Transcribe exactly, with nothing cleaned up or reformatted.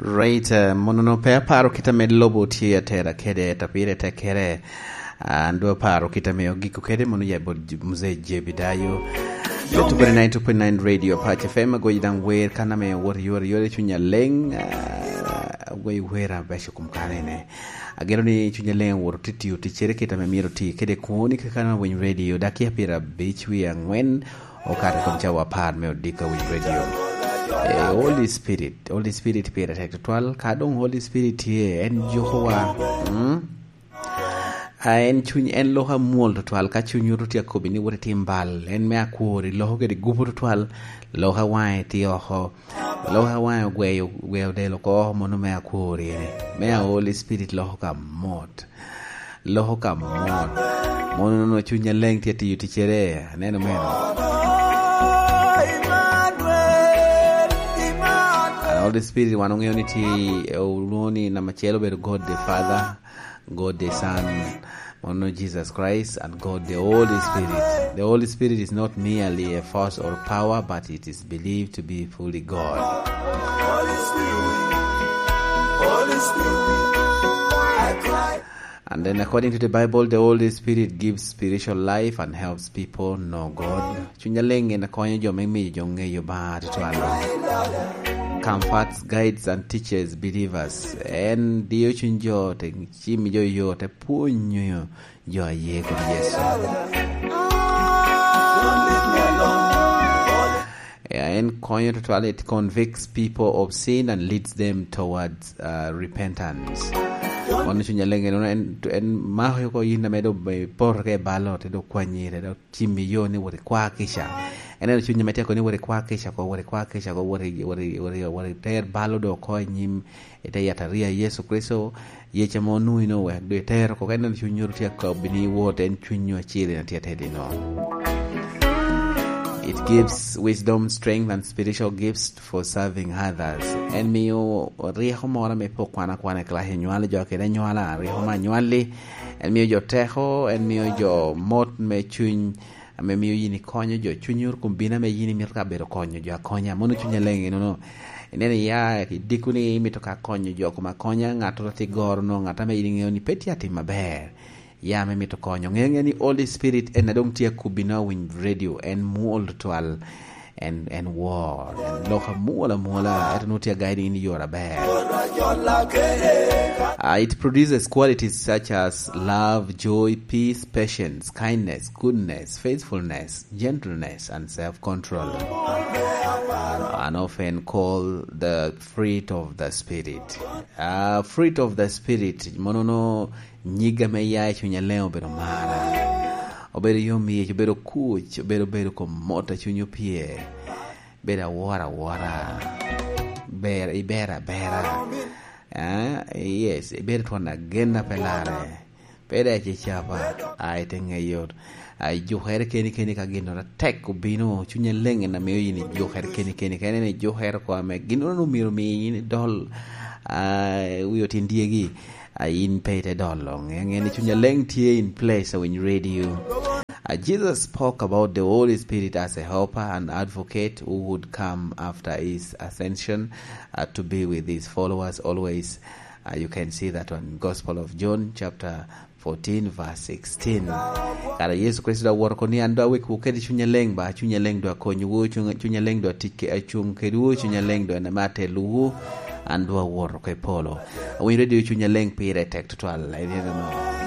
Right, eh, mono no pe aparo kit ame lobo tye atera kede, to pire tekkere, ah, an dwe aparo kit ame ogiko kede mono ya bot J-, Mzee Jebidayo. Two point nine, two point nine Radio Apac F M, agoyi daŋ wer kan ame wot yore yore cunya leng, ah, agoyi wer abeco kum kanene. Ageno ni cunya leng wot titio ticcere kit ame myero ti kede koni kaka na winy radio, dakia pira bic wi angwen, okato i kom cawa apar me odiko a Winy Radio. Eh, Holy Spirit, Holy Spirit pire tek tutwal. Ka doŋ Holy Spirit tye, en jukowa. Mm? A en cuny, en lok amwol tutwal. Ka cuny oto tye akobi ni wot itim bal, en me akwori, loko kede gupo tutwal, lok awaŋe tye oko, lok awaŋe ogweyo, ogweyo del oko, mono me akwori ene. Me a Holy Spirit loko ka mot. Loko ka mot. Mono nono cuny aleŋ tye tiyo ticcere. Aneno meno. And Holy Spirit wan oŋeo ni tye, eh, olwoŋo ni namba acel obedo God the Father, God the Son, mono Jesus Christ, and God the Holy Spirit. The Holy Spirit is not merely a force or power, but it is believed to be fully God. And then, according to the Bible, the Holy Spirit gives spiritual life and helps people know God. Cuny aleŋ en konyo jo me miyo jo ŋeyo Obaŋa tutwal. Comforts, guides, and teaches believers. En diyo cuny jo, te cimmi jo yo, te pwonyo jo a ye kede Yecu. Ya, en konyo tutwal, it convicts people of sin and leads them towards, uh, repentance. Mono cuny aleŋ en, en, en mako oko yin ame do be poto ka i balo, te do kwanyi, te do cimmi yo ni wot i kwa kica. En en cuny ame tye koni wot i kwa kica ko, wot i kwa kica ko, wot i, wot i, wot i, wot i ter balo do oko i nyim, i te yataria Yecu Kricito, yec ame onwoŋo ino wek do itero oko, ka ineno cuny nyuto tye akobbi ni iwot, en cuny nyo acel en atye atedino. It gives wisdom, strength, and spiritual gifts for serving others. En mio ryeko moro ame pe okwana akwana i kilac anywalo jo kede anywala, ryeko me anywalli. En mio jo teko, en mio jo mot me cuny, ame mio yin ikonyo jo. Cunyi oro kun bino ame yin imito ka bedo konyo jo akonya. Mono cuny aleŋ enono. Ineno iya i diko ni imito ka konyo jo kom akonya, ŋattoro tye goro no, ŋat ame yin iŋeo ni pe tye atim aber. Ya ame mito konyo. Ŋe, ŋe ni Holy Spirit en a doŋ tye akubbi no Winy Radio, en mwol tutwal. En, en wor, en lok amwol amwola, ento nwoŋo tye a guiding in i yore aber. Ah, it produces qualities such as love, joy, peace, patience, kindness, goodness, faithfulness, gentleness, and self-control. And often called the fruit of the Spirit. Ah, fruit of the Spirit, mono no nyig ame ya i cuny aleŋ obedo mara. Obedo yom yec, obedo kuc, obedo bedo kom mot a cuny opye. Bedo awora awora. Ber, ibera abera. Ah, yes, ibedo twon agen a pe larre. Pe dac icapa, a ite ŋeyo. A ijukere keni keni ka ginnoro atek obino, cuny aleŋ en a mio yin ijukere keni keni. Ka ineno ijukere oko ame ginnoro nwoŋo myero omi yin idol, a, wi otin dyegi, a, yin pe ite dolo. Ŋe, ŋe ni cuny aleŋ tye in place, a Winy Radio. A, Jesus spoke about the Holy Spirit as a helper and advocate who would come after his ascension, uh, to be with his followers always. Uh, you can see that on Gospel of John chapter fourteen verse sixteen. Kara Yecu Kricito dok owoto oko ni, "An dok awekwu kede Cuny Aleŋ ba, Cuny Aleŋ dok akonywu, Cuny, Cuny Aleŋ dok atic ke-, acuŋ kedwu, Cuny Aleŋ dok en ame atelwu, an dok awoto oko i polo." Awinyo redio Cuny Aleŋ pire tek tutwal, I don't know.